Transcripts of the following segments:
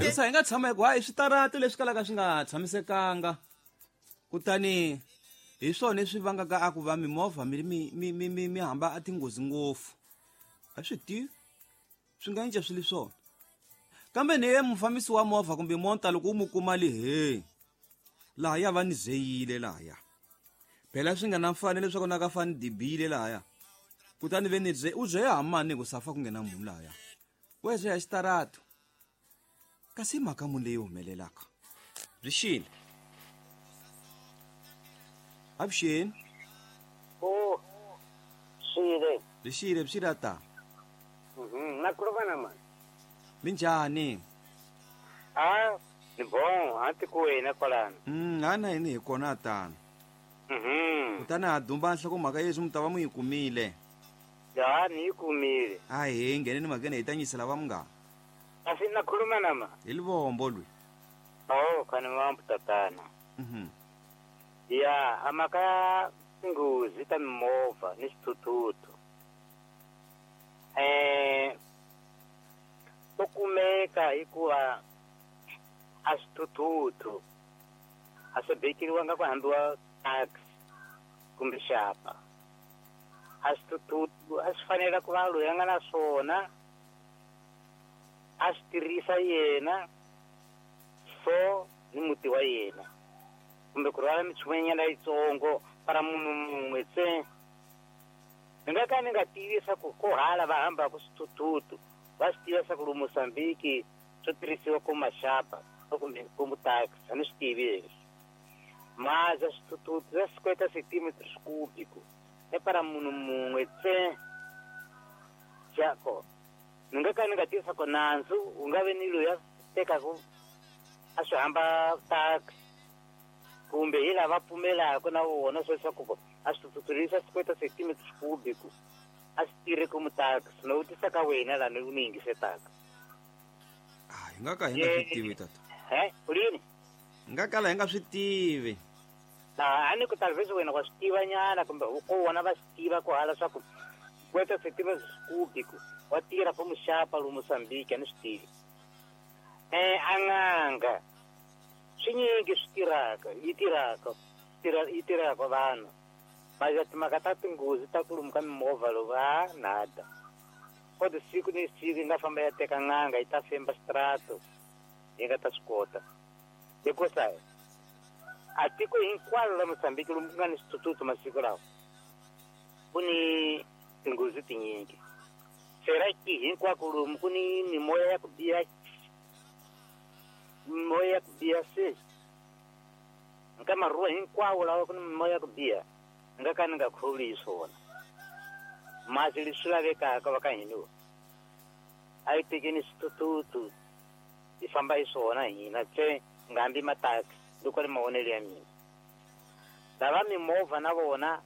Hikusa hi nga tshama hi ku hayi switarati leswi kalaka swi nga tshamisekanga kutani hi swona leswi vangaka a ku va mimovha mi mi mi mi mi mi hamba a tinghozi ngopfu a swi tivi swi nga cinca swi li swona kambe ni ye mufambisi wa movha kumbe monta loko u mu kuma li he lahaya va ni zeyile lahaya phela swi nga na mfanelo leswaku na ka fani dibile lahaya kutani ve ni ze u zeya mani ku safa ku nghena munhu lahaya we zeya xitarato kasi i mhaka muni leyi humelelaka byi xile avuxeni o xile byi xile byi xile ata na khuluma na mani minjhani a ni bon a tikweni kwalano ha na yini hi kona tano kutani ha dumba nhlokomhaka yeswi mi ta va mu yi kumile ya ni yi kumile a hi ngheneni mhakeni hi ta nyisela va munghana kasi na khuluma na ma hi livombo lwi o khani mambu tatana ya a mhaka ya tinghozi ta mimovha ni swithuthuthu to kumeka hikuva a swithuthuthu a swi bekeriwanga ku hambiwa taxi kumbe xapa a swithuthuthu a swi fanela ku va loyi a nga na swona a swi tirhisa yena so ni muti wa yena kumbe ku rhwala minchumu yitsongo para munhu mun'we ntsena ni nga ka ni nga tivi swa ku ko hala va hambaka swithuthuthu va swi tiva swa ku lomu Mozambique swo tirhisiwa ku maxapa kumbe ku mutaxi a ni swi tivi leswi maza swithuthuthu swa swikweta centimeters cubico e para munhu mun'we ntsena xako ni nga ka ni nga tivisa ku nandzu wu nga ve ni loyi a tekaku a swi hamba taxi kumbe hi lava pfumelaka na vona swo leswaku a swithuthuthu swikweta centimeters cubico a swi tirhi ku mutaxi no vutisa ka wena laha ni ni yingisetaka hi nga ka hi nga swi tivi tata he ulini hi nga kala hi nga swi tivi a ni ku talvezi wena wa swi tiva nyana kumbe ko vona va swi tiva ku hala swa ku kweta centimeters cubico wa tirha for muxapa lomu Mozambique a ni swi tivi a n'anga swinyingi swi tirhaka yi tirhaka yi tirhaka vanhu maja timhaka ta tinghozi ta ku lomu ka mimovha lowu a nada kodwa siku ni siku yi nga famba ya teka n'anga yi ta femba xitrato yi nga ta swi kota hikusa a tiko hinkwaro la Mozambique lomu ku nga ni swithuthuthu masiku lawa ku ni tinghozi tinyingi sera ki hinkwako lomu ku ni mimoya ya ku biha mimoya ya ku biha se nka maruwa hinkwawo lawa ku ni mimoya ya ku biha ni nga ka ni nga kholi hi swona masi leswi lavekaka va ka hina a yi tekeni swithuthuthu hi famba hi swona hina tse nga hambi mataxi loko ri mavonelo ya mina lava mimovha na vona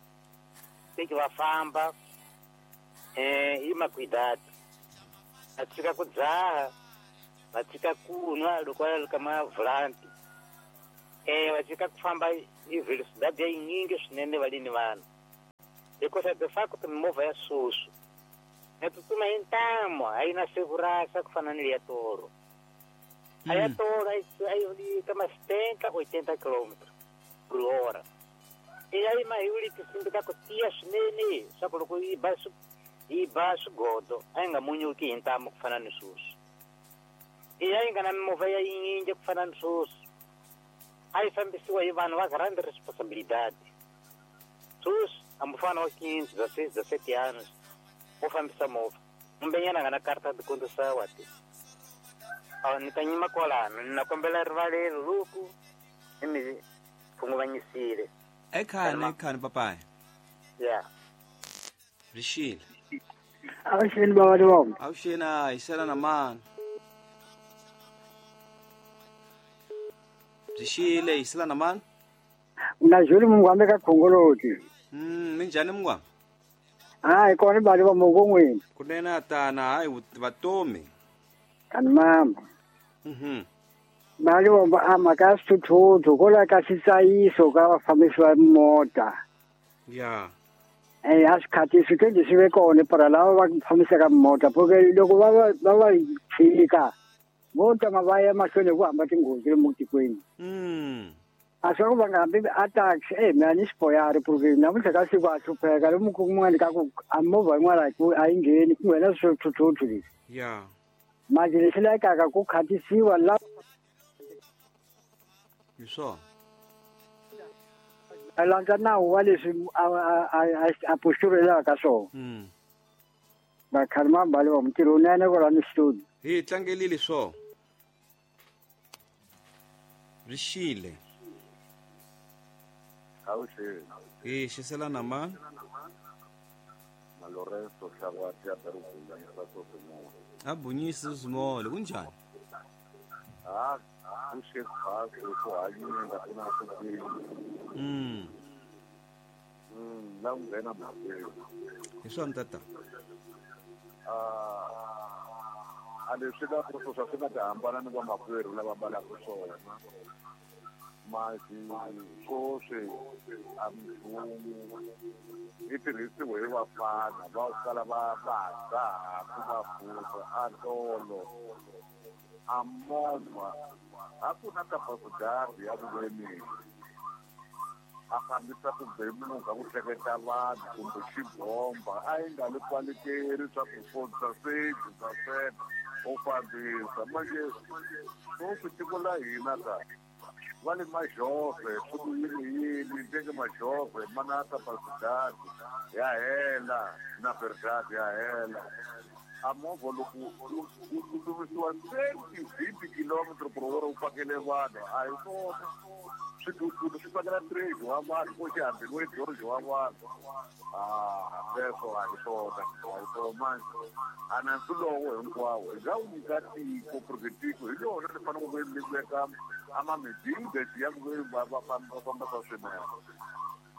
teki va famba hi makwidati va tshika ku dzaha va tshika ku nwa loko va ri ka mavulanti va tshika ku famba hi velocidade ya yinyingi swinene va lini vanhu hikusa de facto mimovha ya sweswi ya tsutsuma hi ntamu a yi na sevurasa ku fana ni leya toro a ya toro a yi ka ma 70 80 km por hora i ya yima hi wuli tinsimbi ta ku tiya swinene swa ku loko yi ba swigodo a yi nga munyuki hi ntamu ku fana ni sweswi i ya yi nga na mimovha ya yinyingi ku fana ni sweswi a yi fambisiwa hi vanhu va grande responsabilidade sweswi a mufana wa 15 16 17 anos wo fambisa movha kumbenyana nga na karta de condução ati ni ta nyima kwalano ni na kombela rivalelo loku ni mi khunguvanyisile ekhani papaya ya byi xile avuxeni bava Livombo avuxeni a hi sela na mani byi xile hi sela na mani na Juli Mungwambe ka Khongoloti minjhani Mungwambe hayi kona bali va mongo n'wini kunene tana hayi vatomi kani mama mali vomba a mhaka ya swithuthuthu ko la ka xitsayiso ka vafambisi va mota ya a swikhathi swikendi swi ve kona para lava va fambisaka mota porque loko va va tshika Vo tama va ya mahlweni hi ku hamba tinghozi lomu tikweni. A swa ku va nga hambi a taxi mina ni xipoyari porque namuntlha ka siku a hlupheka lomu kun'wana ka ku a movha yin'wana a yi ngheni ku nghena swithuthuthu leswi. Ya. Manje lexi lavekaka ku khatisiwa la hi swona. A landza nawu wa leswi a posturelaka ka swona. Vakhalima mbali wa mutirhi unene kwalani studio. Hi tlangelile swona. Rixile. Awuxeni. Hi xiselana ma. Na Lorenzo Hlawati ya Bunyisa Sosimola. A Bunyisa Sosimola kunjani? Ah, kuxe ku hanyile ku na swi. La nghena mhakeni. Hi swona tata. A leswi la ku swa swi nga ta hambana ni vamakwerhu lava mbalaka swona. Masi swoswi a mfumo yi tirhisiwe hi vafana va kala va va ku va futa a tolo a movha a ku na kapasidazi ya vuveni a fambisa ku bemuka ku hleketa vanhu kumbe xibomba a yi nga le kwalekeri swa ku fonisa seji swa swena u fambisa manje swoswi tiko la hina ka va le majove swi ku yini yini njenge majove mana kapasidazi ya hela na verdade ya hela a movha loko u tsutsumisiwa 30 kilometer per hour u pakele vanhu a hi swona swithuthuthu swi pakela trade wa vanhu ko xihambeni George wa vanhu sweswo a hi swona a hi swona manje a nandzu lowo hinkwawo hi nga wu nyika tiko porque tiko hi lona ri fanele ku li veka amamidingesi ya ku va va fambisa swinene.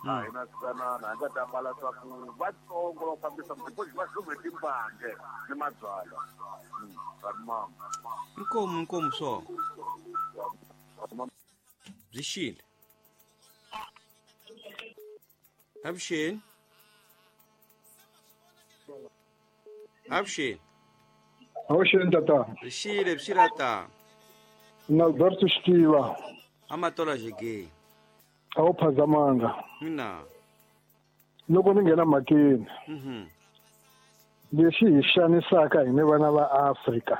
A hi na tsanana hi nga ta mbala swa ku vatsongo va fambisa because va hlume timbange ni mabyalwa. Mama. Inkomu inkomu swo. Byi xile. Avuxeni. Avuxeni. Avuxeni tata. Byi xile byi ta. Na Alberto Xitiva. Amatola jege. A wu phazamanga. Mina. Loko ni nghena mhakeni. Lexi hi xanisaka hina vana va Afrika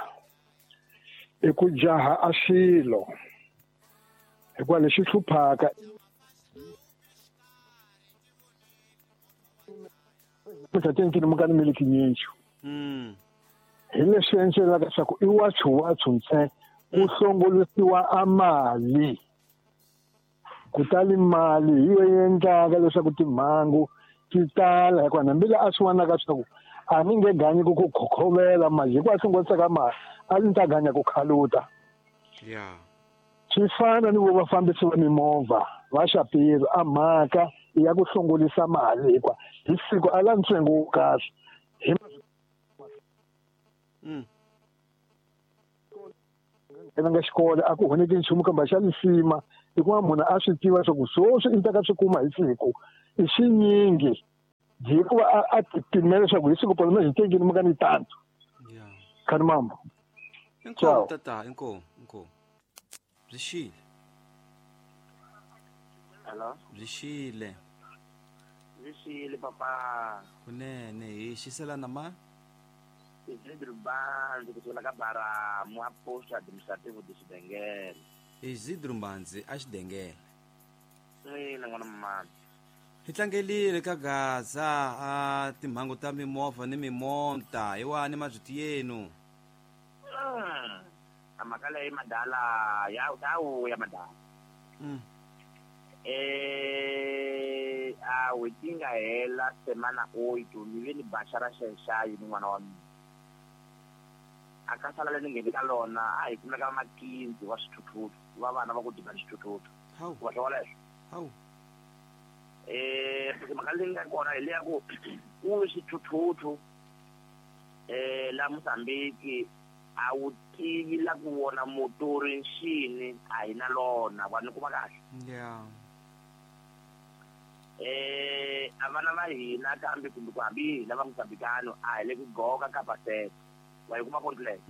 i ku jaha a swilo. Hikuva lexi hluphaka mukani miliki nyinji. Hi leswi endlelaka leswaku i wathu ntsena ku hlongolisiwa a mali. Kutani mali hi yo endlaka leswaku timhangu ti tala hikuva hambi la a swi vonaka leswaku a ni nge ganyi ku ku khokhovela mali hikuva a hlongorisaka mali a ni ta ganya ku khaluta. Swi fana ni vo vafambisi va mimovha va Xapiro a mhaka ya ku hlongolisa mali hikuva hi siku a la ntsengo wo kahle hi nga xikolo a ku honeki nchumu kambe xa lisima hikuva munhu a swi tiva leswaku swoswi i ta ka swi kuma hi siku i swinyingi hikuva a tipimela leswaku hi siku polome hi tekini maka ni tanto. Khani mambo. Inkomu tata inkomu inkomu. Byi xile. Hello. Byi xile. Byi xile papa. Kunene hi xiselana ma. Isidro Mbanzi kusuka ka Baramu a posto administrativo de Xidengele. Isidro Mbanzi a Xidengele. Ina n'wana mama. Hi tlangelile ka Gaza a timhangu ta mimovha ni mimonta hi wani mazwiti yenu. A mhaka leyi madala ya ya madala. A n'hweti yi nga hela semana 8 ni ve ni baxa ra xenxayi ni n'wana wa mina. A ka sala leri ni ngheni ka lona a hi kumeka makinzi wa swithuthuthu va vana va ku diba xithuthuthu. Wa swi vona leswo? Mhaka leyi nga kona hi leya ku ku xithuthuthu la Mozambique a wu tivi la ku vona motori nxini a hi na lona va ni kuma kahle. A vana va hina kambe kumbe ku hambi hina va Mozambikano a hi le ku goka ka pasete. Wa yi kuma point leyo.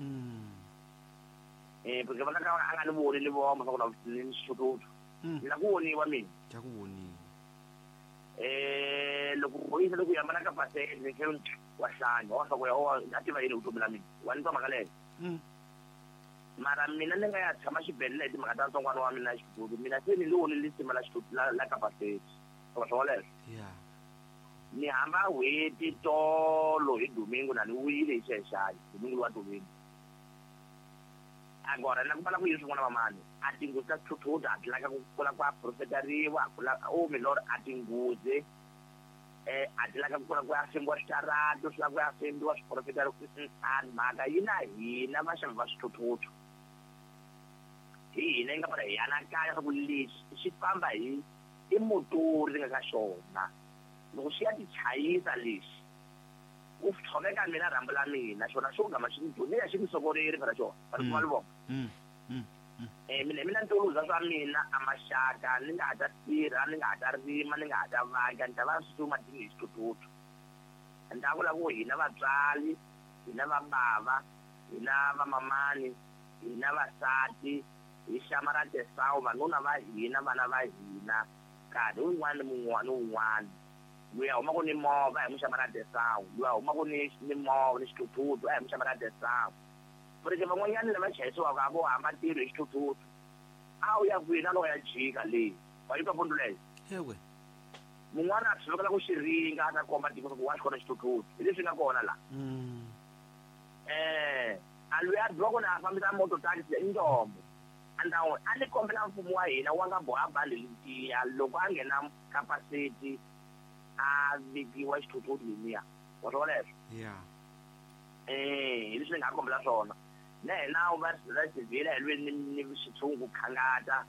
Porque va ka a nga ni voni ni voma swa ku na ni xithuthuthu. Ni la ku voniwa mina. Ja ku voniwa. Loko boyisa loko ya mana ka pasele ni tlhela wa hlanya wa swa ku ya a tiva yini vutomi la mina. Wa ni twa mhaka leyo. Mara mina ni nga ya tshama xibedhlele hi timhaka ta ntsongwana wa mina xithuthuthu. Mina se ni lo ni lisima la xithuthuthu la ka pasele. Swa swoleswo. Yeah. Ni hamba n'hweti tolo hi domingo na ni vuyile hi xexani domingo wa domingo. Agora na ku vala ku yini swin'wana vamani a tinghozi ta swithuthuthu a ti laka ku kula ku aprofetariwa a kula o milor a tinghozi a ti laka ku kula ku ya fimbiwa switaratu swi lava ku ya fimbiwa swiprofetariwa a mhaka yi na hina vaxavi va swithuthuthu hi hina yi nga fana hi anakanya swa ku lexi xi famba hi i motori ri nga ka xona loko xi ya ti chayisa lexi ku tshoveka mina rhambu la mina xona xo gama xi ni ya xi ni sokoreri phela xona va kuma livonga mina mina ni toluza swa mina a maxaka ni nga ha ta tirha ni nga ha ta rima ni nga ha ta vaka ni ta va swi madini hi xithuthuthu ni ta vula ku hina vatswari hina vabava hina vamamani hina vasati hi xamara tesawu vanuna va hina vana va hina nkarhi wun'wana ni wun'wana wun'wana luya huma ku ni movha hi muxamara tesawu luya huma ku ni movha ni xithuthuthu a hi muxamara tesawu porque van'wanyana lava chayisiwaka a vo hamba ntirho hi xithuthuthu a wu ya kwihi na loko ya jika leyi wa yi twa pundu leyo ewe mun'wana a tshovekela ku xi ringa a ta komba tiko ku wa xi kona xithuthuthu hi leswi nga kona la a luya a dyiwa ku na a fambisa moto taxi i ndombo andawu a ni kombela mfumo wa hina wa nga boha bandi letiya loko a nghena capacity a vikiwa xithuthuthu lemiya wa swi vona leswo yeah hi leswi ni nga kombela swona na hina va civil hi lweni ni xitshungu khangata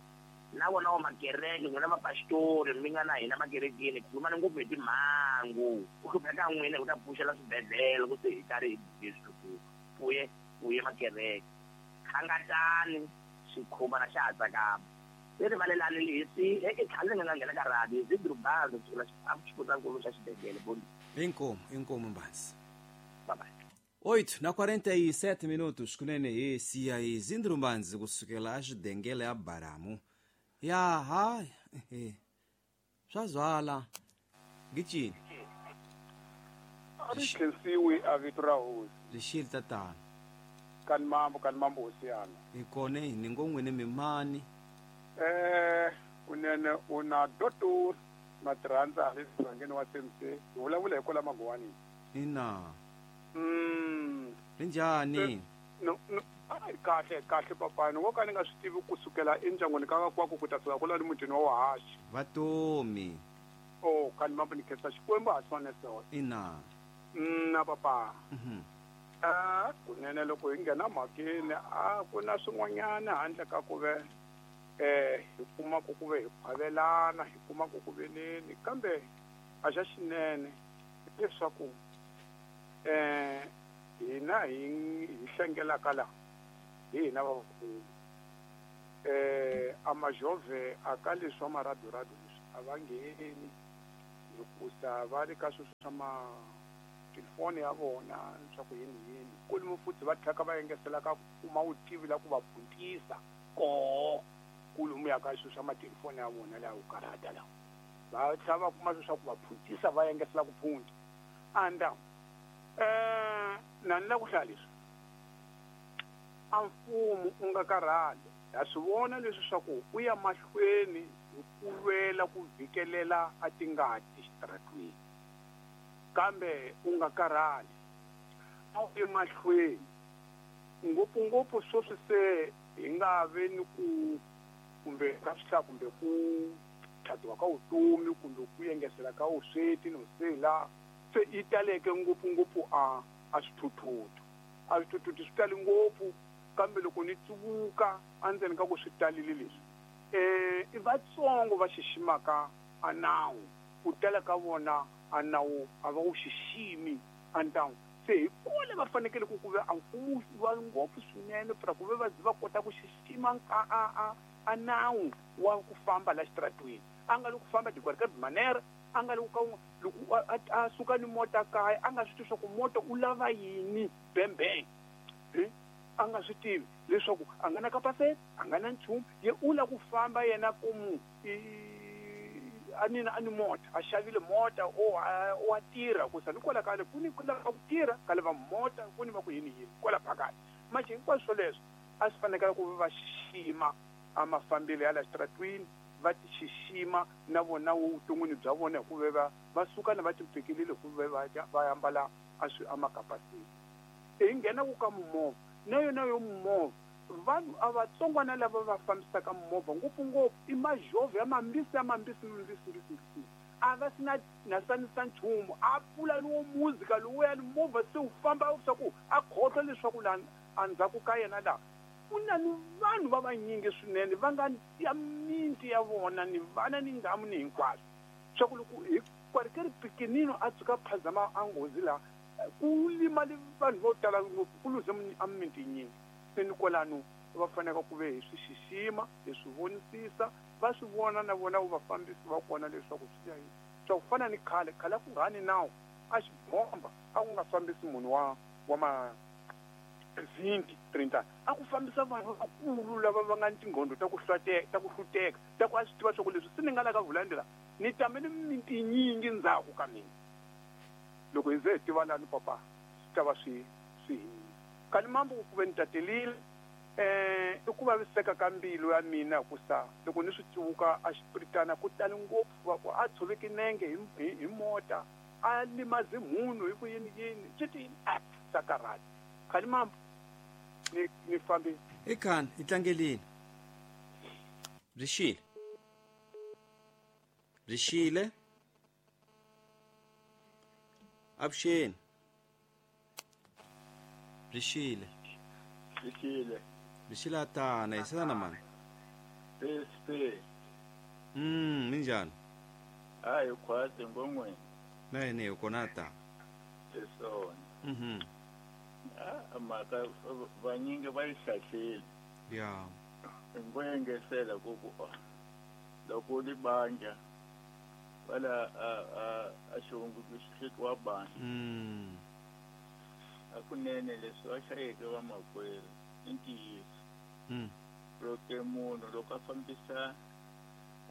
na vona wa makereke n'wina vapastori mi nga na hina makerekeni khulumani ngopfu hi timhangu ku hlupheka n'wina hi ku ta pfuxela swibedhlele ku se hi karhi hi swithuthuthu pfuye pfuye makereke khangatani xikhumana xa ha tsakama se rivalelani lesi eke tlhale ni nga nghena ka radio hi Drubanzi kusukela xifundzankulu xa xibedhlele boni inkomu inkomu Mbanzi bye bye 8:47 minutos kunene hi siya hi Zindrumbanzi kusukela axidengele ya Baramu ya ha swa zwala gicini a ri khensiwi a vito ra hosi lexili tatana kani mambo hosi yana hi kona ni ngo n'wini mimani kunene u na doctor Matirhandza le mugangeni wa CMC hi vulavula hi kwala Magwani ina linjhani no kahle kahle papani wo ka ni nga swi tivi kusukela endyangwini ka kwaku ku ta fika kwala ni mutini wa Wahaxi vatomi o kani mambo ni khensa Xikwembu ha swona swona ina na papa kunene loko hi nghena mhakeni a ku na swin'wanyana handle ka ku ve hi kuma ku ve hi khwavelana hi kuma ku ku veneni kambe a xa xinene leswaku hina hi hlengelaka la hi hina vakulu a majove a ka leswi wa maradorado leswi a va ngheni hikusa va ri ka sweswo swa matelefoni ya vona swa ku yini yini kulumu futhi va tlhaka va engesela ka kuma vutivi la ku va phuntisa koho kulumu ya ka sweswo swa matelefoni ya vona laha ku karhata lawa va tlhela va kuma sweswo swa ku va phuntisa va engesela ku phunta anda na ni la ku hlaya leswi a mfumo u nga karhali ha swi vona leswi swa ku u ya mahlweni hi ku lwela ku vhikelela a tingati xitaratweni kambe u nga karhali a wu ye mahlweni ngopfungopfu sweswi se hi nga ve ni ku kumbe ka swihlaya kumbe ku tlhatiwa ka vutomi kumbe ku engesela ka vusweti no sela se yi taleke ngopfungopfu a swithuthuthu a swithuthuthu swi tali ngopfu kambe loko ni tsuvuka endzeni ka ku swi talile leswi i vatsongo va xiximaka a nawu ku tala ka vona a nawu a va wu xiximi a ntawu se hi kule va fanekele ku ku ve a mfumo va ngopfu swinene pra ku ve va va kota ku xixima a nawu wa ku famba la xitaratweni a nga le ku famba de qualquer manière a nga loko loko a suka ni mota kaya a nga swi tivi swa ku mota u lava yini bembeng A nga swi tivi leswaku a nga na kapaseti, a nga na nchumu, ye u lava ku famba yena komu a ni mota, a xavile mota o a tirha ku sa ni kwala kale ku ni ku lava ku tirha ka lava mota ku ni va ku yini yini kwala phakathi. Manje hinkwaswo swoleswo a swi fanekela ku va xixima a mafambelo ya la xitaratwini, va ti xixima na vona vuton'wini bya vona hikuva va suka na va timpekelile hikuva va ambala a makapasiti. Hi nghena ku ka mimovha na yona yo mimovha vanhu a vatsongwana lava va fambisaka mimovha ngopfungopfu i majovho ya mambisi ya mambisi mbisi mbisi mbisi a va sina na sanisa nchumu a pfula lowo muzika lowuya ni movha se wu famba swa ku a khohlwa leswaku laha endzhaku ka yena laha ku na ni vanhu va vanyingi swinene va nga ya minti ya vona ni vana ni ngamu ni hinkwaswo swa ku loko hi kwarikeri pikinino a tshuka phazama a nghozi laha ku limali vanhu vo tala ngopfu ku luze a minti yinyingi. Se ni kwalano va fanele ku ve hi swi xixima hi swi vonisisa va swi vona na vona vafambisi va kona leswaku swi ya yini. Swa ku fana ni khale khale a ku nga ni nawu a xibomba a ku nga fambisi munhu wa ma 20 30 a ku fambisa vanhu vakulu lava va nga ni tinghondo ta ku hluteka ta ku a swi tiva swa ku leswi se ni nga la ka vulandela ni tamele minti nyingi ndzhaku ka mina. Loko hi ze hi tiva lani papa swi ta va swi kani mambo ku ve ni tatelile i ku vaviseka ka mbilu ya mina ku sa loko ni swi tsivuka a xipiritana ku tali ngopfu va ku a tshoveki nenge hi mota a limaze munhu hi ku yini yini swi ti sa karhati khani mambo ni fambi i khani i tlangelini byi xile avuxeni byi xile tana hi sala na mani SP minjhani a hi khwatsi ngon'weni na yini hi kona ta hi swona a mhaka vanyingi va yi hlahlile ya ngo engesela ku ku loko u li bandla wala a xihungu xi wa bandla akunene leswi va hlayeke vamakwerhu i ntiyiso loko munhu loko a fambisa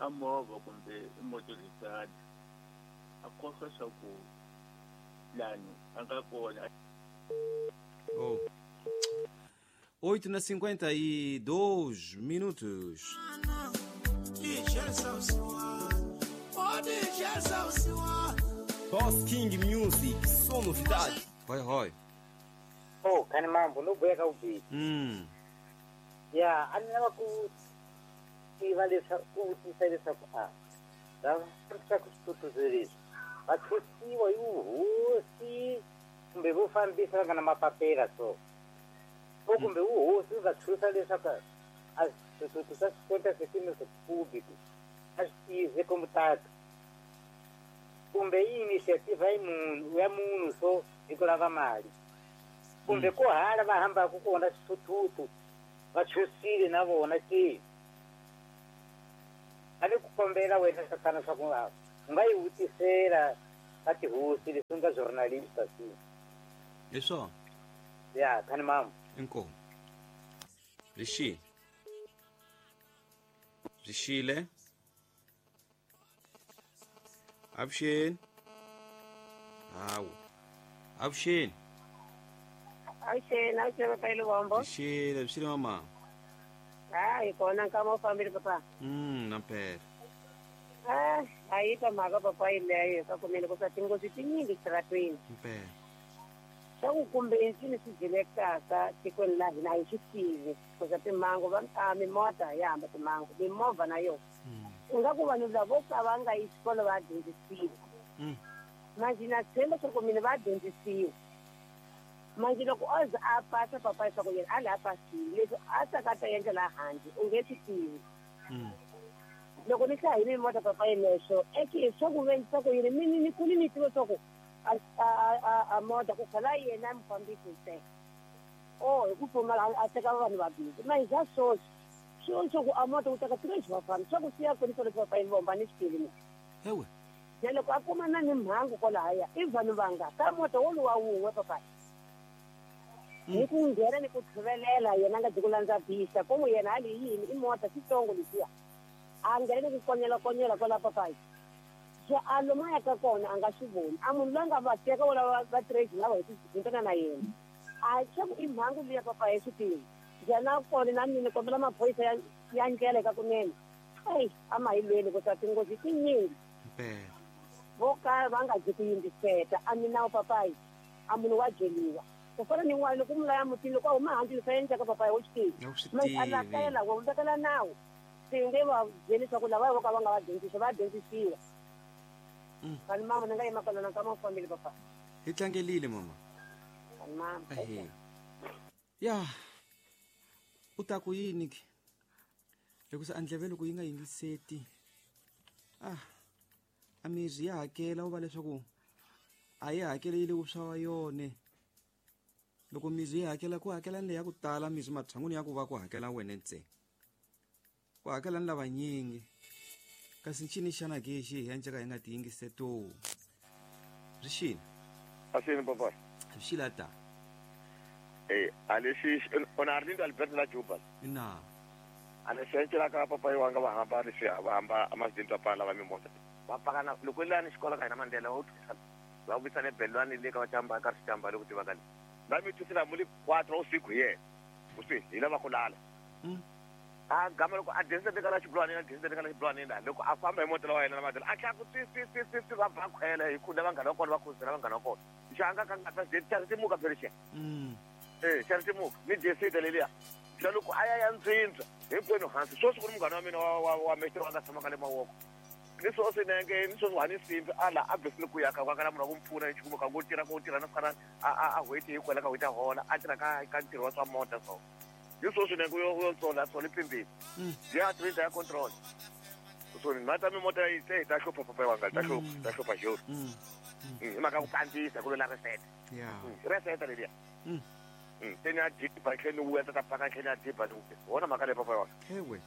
a movha kumbe motorizana a khohlwa swa ku lani a nga kona. Oh. 8:52 minutos. Boss King Music, só novidade. Vai, vai. Oh, kani mambo no boya ka ubi. Ya, ani lava ku tiva leswaku ku vutisa leswaku a lava fambisaka swithuthuthu va thusiwa hi vuhosi kumbe vo fambisa va nga na mapapela so o kumbe vuhosi va thusa leswaku a swithuthuthu swa 50 centímetros cúbicos a swi tize como tata kumbe i iniciativa ya munhu so hi ku lava mali kumbe ku hala va hambaka kona swithuthuthu va chusile na vona ke a ni ku kombela wena tatana swa ku u nga yi vutisela ka tihosi leswi nga journalista si hi swona ya khani mama inkomu byi xile avuxeni hawu avuxeni avuxeni avuxeni papa Luvombo byi xile mama hayi kona nkama u fambile papa nampela a yi ka mhaka papa yeleyo ka kumele ku sa tinghozi tinyingi xitaratweni mpela swa ku kumbe ncini swi dyelekaka tikweni la hina a hi swi tivi kuza timhangu va mimota ya hamba timhangu mimovha na yona ingaku vanhu lavo ka va nga yi xikolo va dyondzisiwa manje na tshemba swa ku mina va dyondzisiwa manje loko o ze a pasa papa leswaku yena a laha pasile leswi a tsaka ta endla laha handle u nge swi tivi loko ni hlaya hi mimota papa yeleswo eke swa ku ve swa ku yini ni kuli ni tiva swa ku a mota ku khala yena mufambisi ntsena o hi ku pfumala a teka vanhu vabindzu manje xa swoswi swilo swa ku a mota ku teka 3 vafambi swa ku siya kweni swoleswi papa yini vomba ni swi tivi mina ewe na loko a kuma na ni mhangu kwalahaya i vanhu vanga ka mota woluwa wun'we papa Ni ku nghena ni ku tlhuvelela yena nga ku landza bisa komu yena a li yini i mota xitsongo lexiya a nghena ni ku konyela kwala papayi se a lomu a yaka kona a nga swi voni a munhu loyi a nga va teka wala va trade lava hi tintana na yena a xa ku i mhangu liya papayi swi tivi njhani kona na mina kombela maphorisa ya ndlela eka kunene eyi a ma hi lweni ku ta tinghozi tinyingi vo ka va nga dyi ku yingiseta a minawu papayi a munhu wa byeliwa ku fana ni n'wana loko mu laya mutini loko a huma handle leswi a endlaka papayi wo swi tivi a lakela wa vekela nawu swi nge va byeli leswaku lava vo ka va nga va dyondzisi va dyondzisiwa kani mama ni nga yima kwalano ka ma fambile papayi hi tlangelile mama kani mama ya u ta ku yini ke hikusa a ndleve loko yi nga yingiseti a mirhi ya hakela u va leswaku a yi hakeli yi le vuswa wa yone loko mirhi yi hakela ku hakela ni leyi ya ku tala mirhi matshan'wini ya ku va ku hakela wena ntsena ku hakela ni lavanyingi kasi ncini xana ke xi hi endleka hi nga ti yingiseto byi xile asini papa byi xile ta a lexi ona Arlindo Alberto la Juba ina a lexi encelaka papa yi wanga va hamba leswi va hamba amasidenti va pala va mimota va pakana loko lani xikolo ka hina Mandela va thusana va vuyisana ebelwani le ka vachamba ka swichamba loko tiva ka le va mi thusela mu le 4 usiku hi yena uswi hi lava ku lala a gama loko a densete ka la xibulwani a densete ka la xibulwani la loko a famba hi mota wa yena la Mandela a tlha ku tsi va ba khwela hi khunda vanghana va kona va khuzela vanghana va kona xanga ka nga ta xa timuka phela xa xa timuka ni desete leliya xa loko a ya ya ndzindza hinkwenu hansi sweswi ku ri munghana wa mina wa mexo wa nga tshama ka le mawoko ni swoswi nenge ni swoswi hani simbi a la a besile ku ya ka ka la munhu wa ku mpfuna hi xikumu ka ngo tirha ko tirha na fana a hweti hi kwela ka hweti a hola a tirha ka ntirho wa swa mota so ni swoswi nenge u yo tsola tsola pimbini ya trinta ya control so ni mata mi mota yi se ta hlupha papa wanga ta hlupha ta hlupha joro hi mhaka ku kandziyisa ku lwela reset reset leliya se ni a diba tlhe ni vuya ta paka tlhe ni a diba ni vuya wona mhaka leyi papa wanga ewe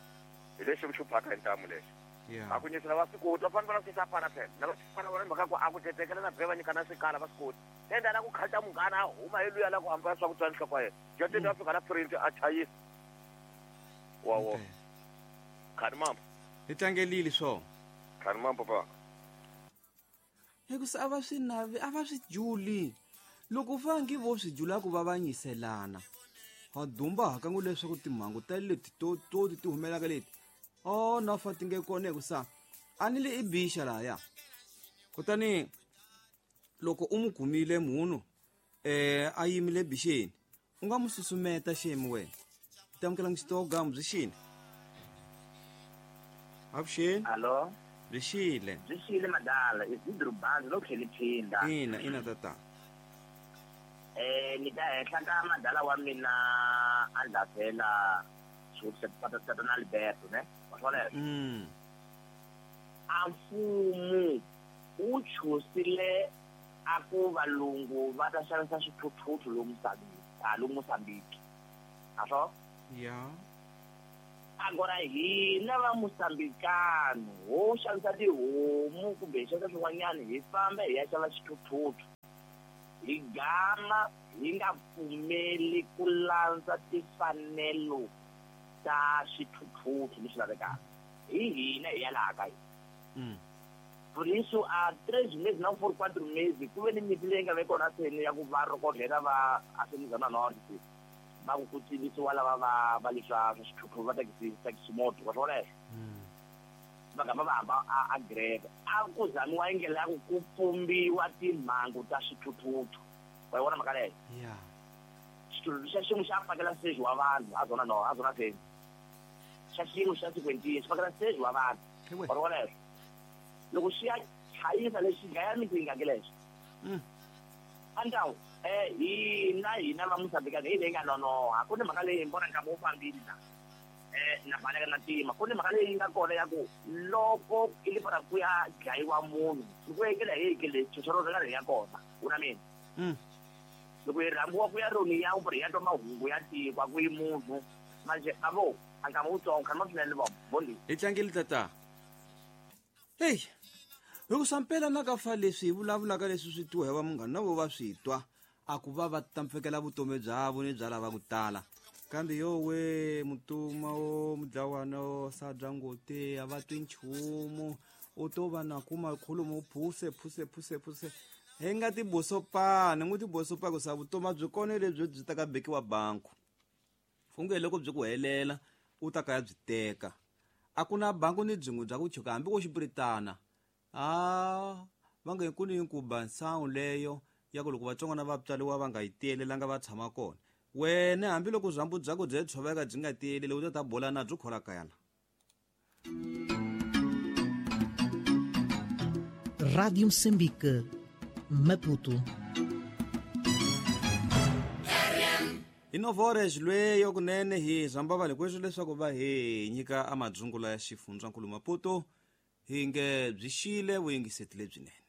hi lexi xi phaka hi ntamu lexi a ku nyisela va swi koti va fanele va swi pana phela na va fana vona mhaka ku a ku tetekela na bye va nyikana swikala va swi koti enda la ku khalta munghana a huma hi luya la ku hamba swa ku tswa nhloko ya yena joteni va fika na print a chayisa wawo khani mama hi tlangelile swo khani mama papa hikusa a va swi navi a va swi juli loko fangi vo swi jula ku va va nyiselana ha dumba hakangu leswaku timhangu ta leti to ti humelaka leti na fa ti nge kona hikusa a ni le i bixa lahaya kutani loko u n'wi kumile munhu a yimile bixeni u nga n'wi susumeta xemi wena u ta amukela xitogamu byi xini avuxeni alo byi xile byi xile madala Isidro Banzi no tlheli phinda ina tata ni ta henhla ka madala wa mina a ndlafela xivutiso na Alberto ne wa swona a mfumo wu chusile a ku valungu va ta xavisa swithuthuthu lomu Mozambique a swo ya agora hina va Mozambikano ho xavisa tihomu kumbe hi xavisa swin'wanyana hi famba hi ya xava xithuthuthu hi gama hi nga pfumeli ku landza timfanelo ta xithuthuthu leswi lavekaka hi hina hi ya laha ka hina Por isso, há 3 meses, não foram 4 meses, ku ve ni nyimpi leyi nga ve kona seni ya ku va rokodlela va Asemizana North va ku tivisiwa lava va leswa swithuthuthu va taxi moto wa swona va gama va hamba a greve a ku zamiwa indlela ya ku pfumbiwa timhangu ta swithuthuthu wa yi vona mhaka leyo xithuthuthu xa xin'we xa fakela seji wa vanhu a zona no a zona seni xa xin'we xa sekwentini xi fakela seji wa vanhu wa vona leswo loko xi ya chayisa lexi dlaya miti yi nga ke lexo andawu hina va Mozambique hi leyi nga nonoha ku ni mhaka leyi hi vona nkarhi wo fambile na na baleka na tima ku ni mhaka leyi nga kona ya ku loko i le para ku ya dlayiwa munhu loko ekela hi ke le chochoro ra ya kona u na mina loko hi rhambiwa ku ya roni ya ku ya twa mahungu ya tiko ku yi munhu manje avo a nkama wutsongo khani ma swinene vo bondi hi tlangeli tata hey hikusa mpela na ka fa leswi hi vulavulaka leswi swi twiwa hi va munghana na vo va swi twa a ku va va tampfekela vutomi bya vo ni bya lava ku tala. Kambe yowe mutuma o mudlawana o sadya ngoti a va twi nchumu, u to va na kuma khulumo phuse phuse phuse phuse. Hi nga tibosopani, n'wi tibosopa ku sa vutomi a byi kona lebyi byi ta ka bekiwa banku. Funge loko byi ku helela u ta kaya byi teka. A ku na banku ni byin'we bya ku chuka hambi ko xipuritana. Va nge ku ni nkuba nsangu leyo ya ku loko vatsongwana va tswariwa va nga yi tiyelelanga va tshama kona. Wena hambiloko byambu bya ku byi tshoveka byi nga tiyeleli u ta ta bola na byo khola kaya la. Rádio Moçambique, Maputo. Hi novores lweyo kunene hi zamba va hikweswo leswaku va hi nyika amadzungula ya xifundzankulu Maputo hi nge byi xile vuyingiseti lebyinene.